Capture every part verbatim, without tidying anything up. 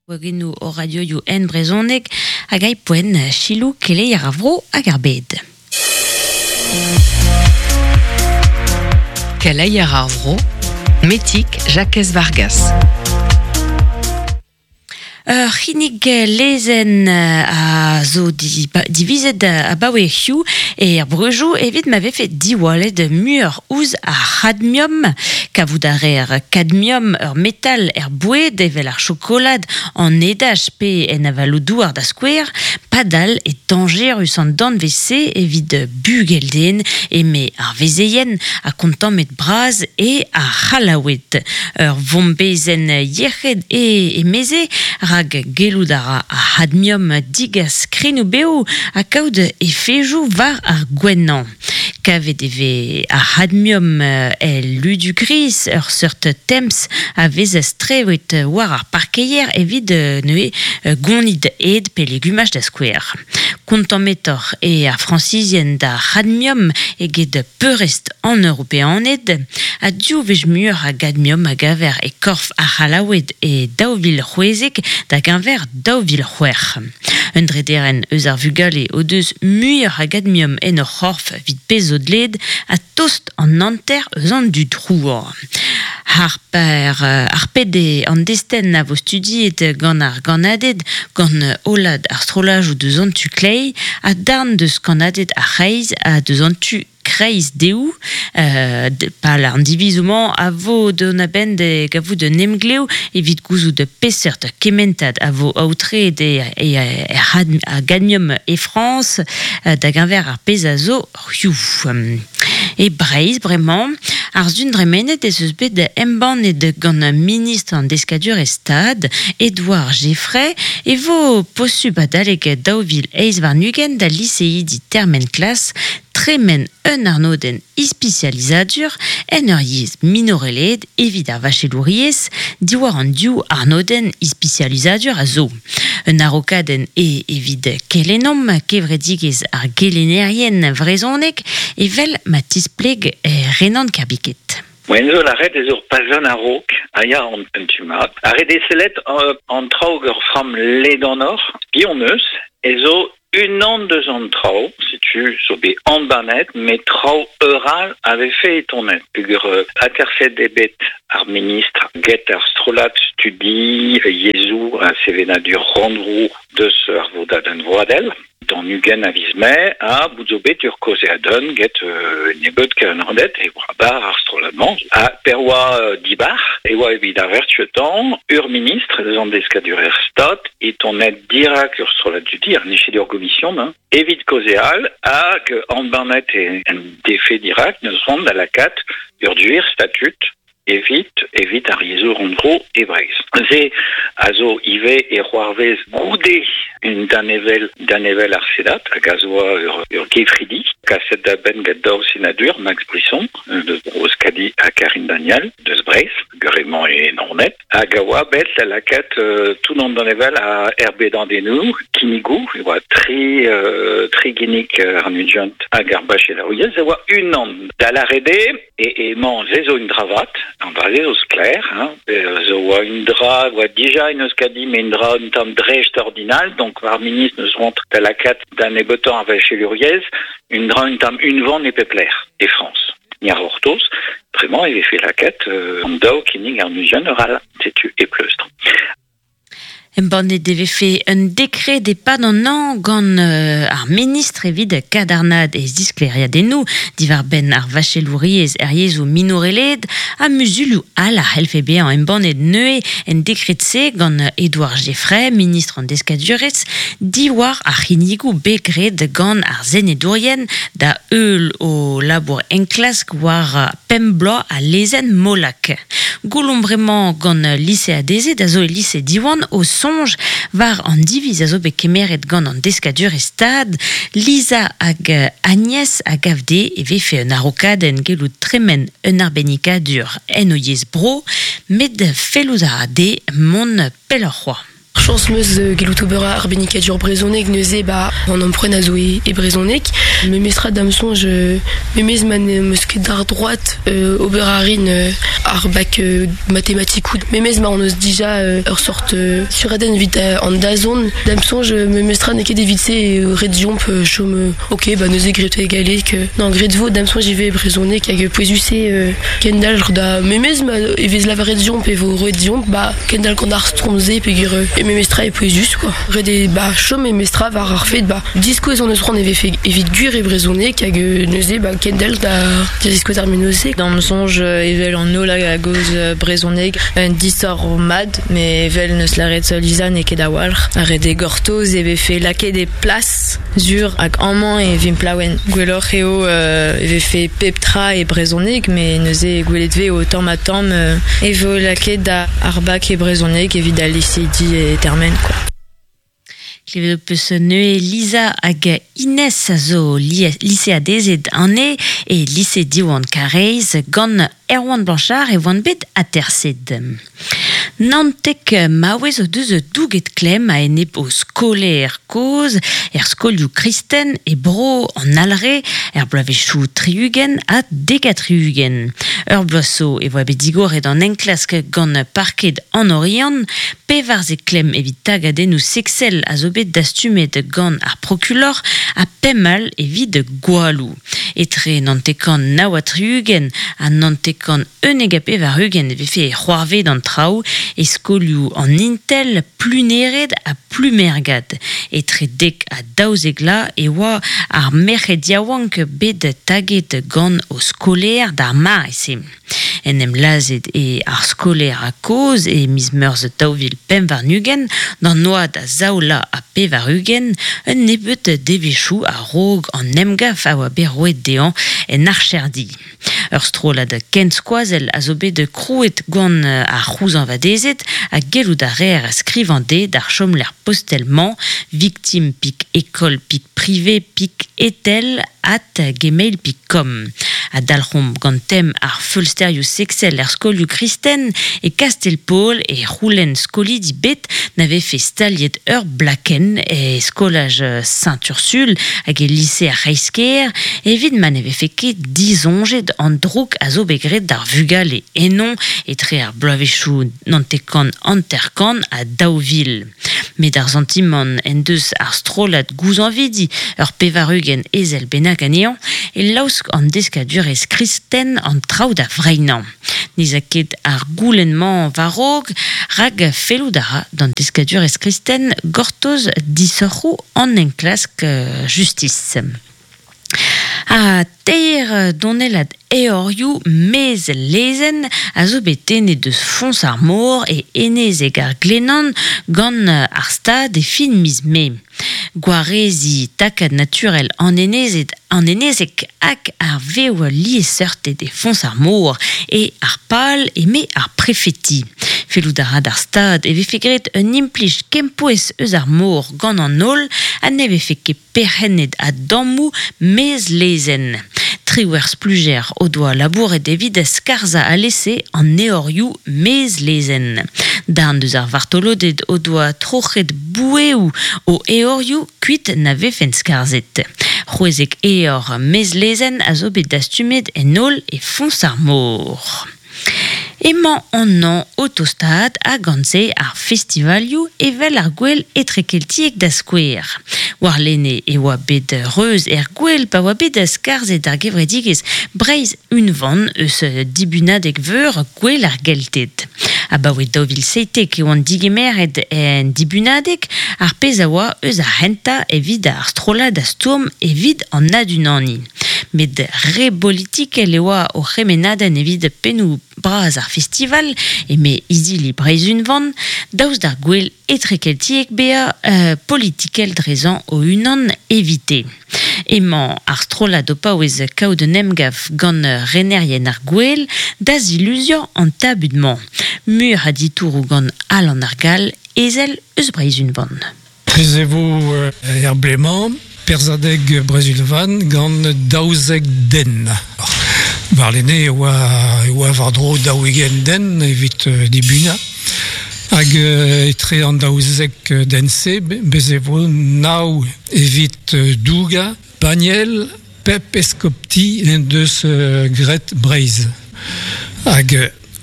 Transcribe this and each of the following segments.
Gwagennoù o radioioù en brezhoneg hag ai poent chilou keleier ar vro hag ar bed. Keleier ar vro, Metik Jakez Vargas. Ur c'hinnig lezenn a zo di, divizet abaoe hiziv er breujoù evit ma vefe diwallet muioc'h ouzh ar c'hadmium. Kavout a reer kadmium ur metal er boued evel ar chokolad an edaj pe en avaloù-douar da skouer, padal e dañjerus an danvez-se evit bugel-den eme ar vezeien ha kontammet bras e ar C'hallaoued. Ur vombezenn yec'hed e emeze rak gellout a ra ar c'hadmium digas krignoù-bev ha kaout efejoù war ar gouennañ. Kavet e vez ar c'hadmium el ludu gris, ur seurt temz a vez strewet war ar parkeier evit neuze gonid ed pe legumaj da skouer. Kontammetoc'h e ar Frañsizien d'ar c'hadmium eget peurrest an Europeaned ha div wech muioc'h a gadmium a gaver e korf ar C'hallaoued e daou vil c'hwezek da geñver daou vil c'hwec'h. Un drederenn eus ar vugale o deus muioc'h a gadmium en ur c'horf evit pezh zo dleet ha tost an hanter eus an dud c'hour. Harper, ar pede an destenn a vo studiet gant ar gannaded gant hollad ar strollajoù deus an tu kleiz ha darn deus kannaded ar c'hreiz ha deus an tu kreiz dehoù, euh, pal an divizoù-mañ a vo dont a-benn da gavout un emglev evit gouzout peseurt kementad a vo aotreet e, e, e, a gadmium e Frañs da geñver ar pezh a zo hiziv. E Breizh bremañ, ar sun dremenet ez eus bet embannet gant ministr an deskadurezh Stad, Edouard Geffray, e vo posubl adalek daou vil eizh warn-ugent da liseidi termen klas tremen un arnodenn ispisializadur en ur yezh minorelaet evit ar vachelouriezh diwar an div arnodenn ispisializadur a zo. Un arokadenn e evit kelennomp kevredigezh ar gelennerien vrezhoneg evel ma tispleg Renan Kerbiket. Moen zo lâret ez ur pazenn a-raok, a ya an un tu mat. Ar re deselet an traoù ur framm ledanoc'h, piv eus, ez zo unan deus an traoù, setu zo bet embannet, met traoù eural a vefe etonet. Peogwir aterset eo bet ar ministr get ar strollad studi yezhoù ha sevenadur rannvro deus ar vodadenn vroadel. D'an ugent a viz Mae ha bout zo bet ur kaozeadenn get euh, nebeud kannaded e oa bar ar strollad-mañ. Ha per oa euh, dibar e oa evit ar vertuetan ur ministr deus an deskadur er Stad e tonet dirak ur strollad studi ar niched ur gomision hein, evit kaozeal hag embannet e en defe dirak neus ront da lakaat ur duer statut evit evit ar yezhoù rannvro e Breizh. Se a zo ivez e c'hoarvez goude un danevel danevel ar Sedat hag a zo ur, ur gefridi kaset da benn gant daou senadur Max Brisson deus Bro-Euskadi ha Karine Daniel deus Breizh guremañ e Naoned hag a oa bet da lakaat euh, tout an danevel a erbedadennoù kinnigoù e oa tri euh, tri ginnig ar nugent hag ar bachelouriezh e oa unan da lâret eo e emañ se zo un dravat an dra se zo sklaer hein, zo oa un dra oa dija en Euskadi met un dra un tamm dreist ordinal donc ar ministr neus ront da lakaat da nebeutañ ar vachelouriezh un dra un tamm unvan e pep lec'h e Frañs. Ni ar c'hortoz, bremañ e vefe lakaat euh, an daou kinnig ar nugent ur all, setu e pleustr. Embannet e vefe un dekred e-pad an hañv gant euh, ar ministr evit kadarnaat e zisklêriadennoù diwar-benn ar vachelouriezh er yezhoù minorelaet ha muzulioù all a c'hellfe bezañ embannet neuze en dekred-se gant Edouard Geffray, ministr an deskadurezh, diwar ar c'hinnigoù bet graet gant ar senedourien da heul o labour enklask war pemp bloaz a lezenn Molac. Goulomp bremañ gant liseadezed a zo e lise Diwan o soñj war an diviz a zo bet kemeret gant an deskadurezh Stad, Lisa hag Agnès a gav dezhe e vefe un arokadenn gellout tremen un arbennikadur en o yezh bro, met fellout a ra dezhe mont pelloc'h c'hoazh. Chañs 'meus gellout ober arbennikadur brezhoneg neuze ba an emprunt a zo e, e brezhoneg. Memestra da'm soñj memes ma n'em eus ket d'ar droad euh, ober a rin euh, ar bak euh, matematikoù. Memes ma hon eus dija euh, ur sort euh, suradenn evit euh, an dazont. Da'm soñj memestra n'eo ket evit se euh, ret deomp euh, chom euh, ok ba neuze graet e galleg. Euh, non graet vo da'm soñj ivez brezhoneg hag pouezus eo euh, kendalc'h da memes ma e vez lavaret deomp e vo roet deomp ba kendalc'h gant ar stromm-se peogwir e memestra e pouezus quoi. Ret eo ba chom memestra war ar fed ba diskouez hon eus c'hoant e vefe evit gwir e brezhoneg hag neuze ba kendalc'h da da diskouez ar menoz-se. Da'm soñj evel an holl a gaoz brezhoneg un disoc'h mat met evel neus lâret Lisa n'eo ket a-walc'h. Ar ret eo gortoz e vefe lakaet e plas sur hag amañ e vimp laouen. Gwelloc'h eo euh, e vefe pep tra e brezhoneg met neuze gwelet vez o tamm ha tamm euh, e vo lakaet da ar bak e brezhoneg evit al liseidi e termen quoi. Klevet ho peus neuze Lisa hag Inès a zo liseadezed anezhe e lise Diwan Karaez gant Erwan Blanchard e oant bet aterset. Naontek maouez o deus douget klemm a-enep o skolaer kozh er skolioù kristen e bro an Alre er bloavezhioù tri-ugent ha dek ha tri-ugent. Ur bloaz zo e voa bet digoret an enklask gant parked an Oriant, pevarzek klemm evit tagadennoù seksel a zo bet dastumet gant ar prokulor ha pemp all evit gwalloù. Etre naontek-kant nav ha tri-ugent ha naontek-kant unnek ha pevar-ugent e vefe c'hoarvezet an traoù e skolioù an Intel, Plunered ha Plumergad. Etre dek ha daouzek vloaz e oa ar merc'hed yaouank bet taget gant o skolaer d'ar mare-se. En em lazhet eo ar skolaer a-kozh e miz Meurzh daou vil pemp warn-ugent d'an oad a zaou vloaz ha pevar-ugent, un nebeud devezhioù a-raok an emgav a oa bet roet dezhañ en archerdi. Ur strollad kenskoazell a zo bet krouet gant ar c'houzañvadezed ha gellout a reer skrivañ dezhe d'ar chomlec'h postel-mañ victime pik école pik privé pik etel at gmail pik com. Ha dalc'homp gant tem ar feulsterioù seksel er skolioù kristen e Kastell-Paol e c'houlenn skolidi bet na vefe staliet ur blakenn e skolaj Saint-Ursule hag e lise ar C'hreisker evit ma ne vefe ket disoñjet an droug a zo bet graet d'ar vugale eno etre ar bloavezhioù naontek-kant hanter-kant ha daou vil. Met ar santimant en deus ar strollad gouzañvidi ur pevar-ugent ezel bennak anezhañ e laosk an deskadurezh kristen an traoù da vreinañ. N'ez a ket ar goulenn-mañ war-raok rak fellout a ra d'an deskadurezh kristen gortoz disoc'hoù an enklask justis. Ha teir donellad eorioù maez lezenn a zo bet tennet deus foñs ar mor e enezeg ar Glenan gant ar stad e fin miz Mae. Gwareziñ takad naturel an enezed an enezeg hag ar vev liesseurted e foñs ar mor e ar pal eme ar prefeti. Fellout a ra d'ar stad e vefe graet un implij kempouez eus ar mor gant an holl ha ne vefe ket perc'hennet a dammoù maez lezenn. Triwec'h splujer o doa labouret evit skarzhañ alese an eorioù maez lezenn. Darn deus ar vartoloded o doa troc'het boueoù o eorioù kuit na vefent skarzhet. C'hwezek eor maez lezenn a zo bet dastumet en holl e foñs ar mor. Emañ an hañv o tostaat ha gant-se ar festivalioù evel ar gouel etrekeltiek da skouer. Warlene e oa bet reuz er gouel pa oa bet skarzhet ar gevredigezh Breizh unvan eus dibunadeg veur gouel ar Gelted. Abaoe daou vil seitek e oant digemeret en dibunadeg ar pezh a oa eus ar c'hentañ evit ar strollad a stourm evit an adunaniñ. Met re bolitikel e oa o c'hemennadenn evit pennoù bras ar festival eme izili Breizh unvan, daoust d'ar gouel etrekeltiek bezañ euh, politikel drezañ o-unan evite. Emañ ar strollad o paouez kaout un emgav gant renerien ar gouel da ziluziañ an tabut-mañ. Muioc'h a ditouroù gant Alan ar Gall, ezel eus Breizh unvan. Bez e vo er blez-mañ, perzhadeg Breizh unvan gant daouzek den. Warlene e oa, e oa war-dro daou-ugent den evit dibunañ. Hag Hag etre an daouzek dense, bez e vo nav evit douga, Baniel, pep eskopti en deus gret Breizh. Hag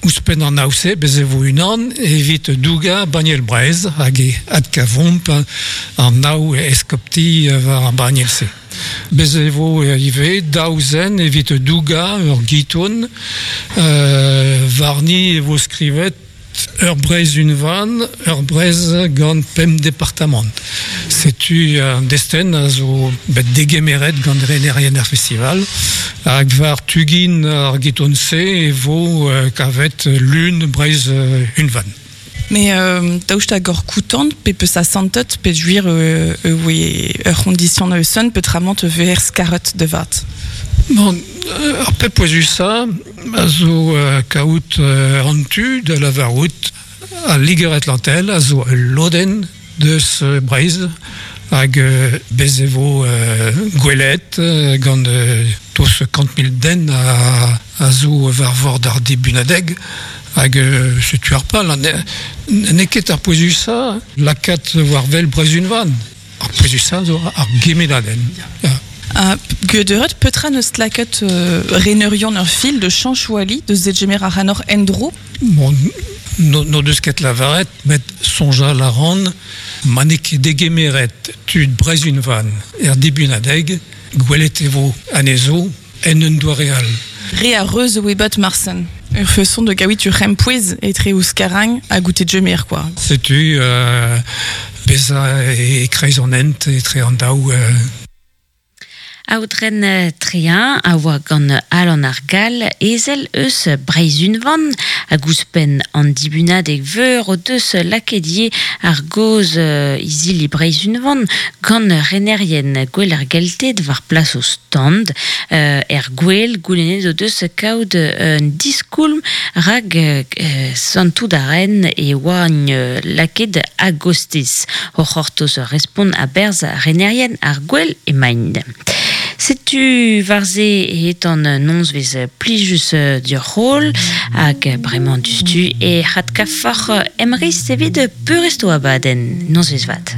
ouzhpenn an nav-se, bez e vo unan evit douga Baniel Breizh, hag e adkavomp an nav eskopti war ar Baniel-se. Bez e vo ivez daou zen evit douga ur giton, euh, warni e vo skrivet ur Breizh unvan, ur Breizh gant pemp departamant. Setu an destenn a zo bet degemeret gant renerien ar festival, hag war tugin ar giton-se e vo kavet lun Breizh unvan. Mais euh, daoust hag ur koutant pe peus a santet pe juir euh, euh, ur c'hondition eus petramant ver skaret de vat. Bon, ar pep pouezusa a zo euh, kaout euh, an tu de la varout a Liger Atlantel a zo loden deus euh, Breizh hag euh, bez e vo euh, gwelet euh, gant euh, tos kant mil den a, a zo war vord ar dibunadeg hag euh, setu ar pal n'eo ket ar pouezusa lakaat war wel Breizh unvan. Ar pouezusa zo ar gemenadenn. Ja. Uh, Geudet petra neus laket euh, reneurion ur fil de chanchouali de zegemer ar anor endro. Bon, no, no deus ket lavaret, met sonjal a ran, ma n'eo ket degemeret tud Breizh unvan er dibunadeg, gwelet e vo anezho en un doare all. Re a reuz oe bat marsen. Ur feson de gaouit ur c'hempouez etre ouzh karang a goûter djemer, quoi. Setu euh, beza e kreiz an hent etre an daou euh, Aotren Trein a oa gant Alan ar Gall ezel eus Breizh unvan hag ouzhpenn an dibunadeg veur o deus lakedie ar goz izili Breizh unvan gant renerien gwell ar gelted war plas o stand euh, er gwell goulennet o deus kaout un diskoulm rag euh, santout a ren e oa laket agostez. O c'hortoz respont a berz renerien ar gwell emaint. Setu varze e etan nonz vez plijus diur rol hag bremañ dustu e c'hadkafoc'h emriz evit peurresto abadenn nonz vez vat.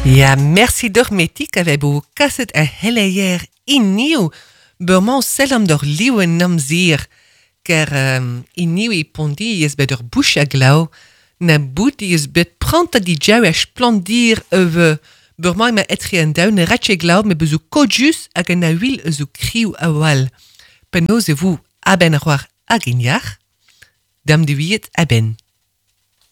Ja, merci d'or metik ave bo kaset a heleier iniou beurmañ sellam d'or liwen namzir ker um, iniou e pondi ez bet ur bouch a glaou na bout is bet pranta di jau a splandir eus beurmañ ma etre an daou ne ratche glaou me bezo kodjus hag an a huil eus o kriou a wal. Penaos e vo aben ar war hag in yar, dam diwiet aben.